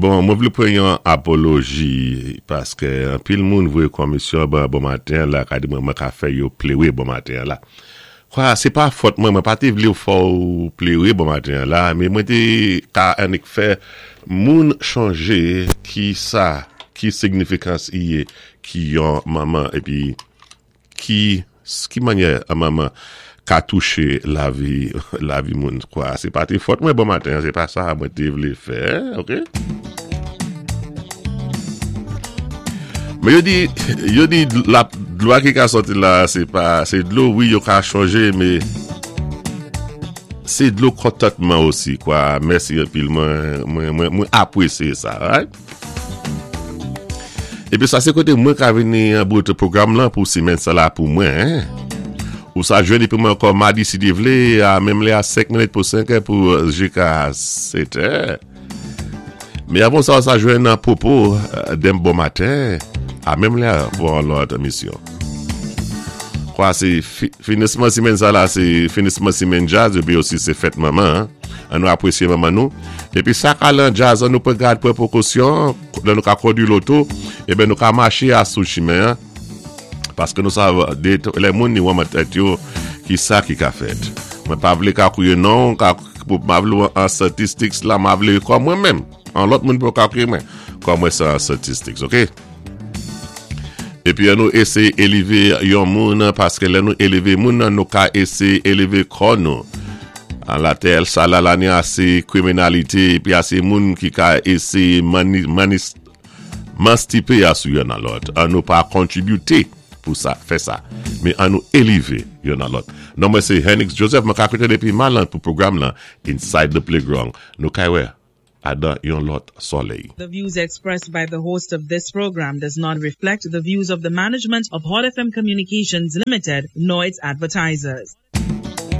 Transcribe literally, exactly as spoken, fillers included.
Bon, mwen vlé pwan yon apoloji paské anpil moun voyé komisyon ban bon maten la ka di mwen mwen ka fè yo pléwé bon maten la. Kwa, sé pa fòt mwen, mwen pa té vlé fè ou pléwé bon maten la, mé mwen té ka annik fè moun chonjé ki sa, ki signifikans i yé ki yon manman épi ki ki mannyè an manman ka touché lavi lavi moun kwa. Sé pa té fòt mwen bon maten, sé pa sa mwen té vlé fè, ok? Mé yo di yo di la dlo ki ka sòti la sé pa sé dlo wi yo ka chonjé mé sé dlo kontantman osi kwa. Mèsi anpil mwen mwen mwen mwen apwésyé sa, right? Épi sa sé koté mwen ka vini an bout pwogram lan pou simèn sa la pou mwen. Ou sa jwenn épi mwen ankò madi si Dye vlé a menm lè a senk minit pou senk è pou jiska sèt è. Mé avan sa sa jwenn Popo denmen bon maten a menm lè pou yon lòt émisyon. Kwa sé finisman simèn sa la sé finisman simèn djaz épi osi sé fèt manman. An nou apwésyé manman nou. Épi sa ka lan djaz an nou pwan gad pwan pwékosyon lè nou ka kondwi loto eben nou ka maché a sou chimen paské nou sav lè moun ni wè tèt yo ki sa ki ka fèt. Mwen pa vlé ka kwiyé non, ka pa vlé an statistics la, ma vlé kòm mwen menm. An lòt moun pou ka kwiyé mwen. Kòm mwen sa an statistics, ok? Épi an nou éséyé élévé yon moun paské lè nou élévé moun nou ka éséyé élévé kò nou. An latè sa la la ni asé kriminalité épi asé moun ki ka éséyé mani, manis, manstipé a sou yon nan lòt. An nou pa kontribyité pou sa, fè sa. Mé an nou élévé yon nan lòt. Non mwen sé Henix Joseph, mwen ka koté dépi Malan pou pwogram lan Inside the Playground. Nou kay wè adan yon lòt solèy. The views expressed by the host of this program does not reflect the views of the management of Hot F M Communications Limited nor its advertisers.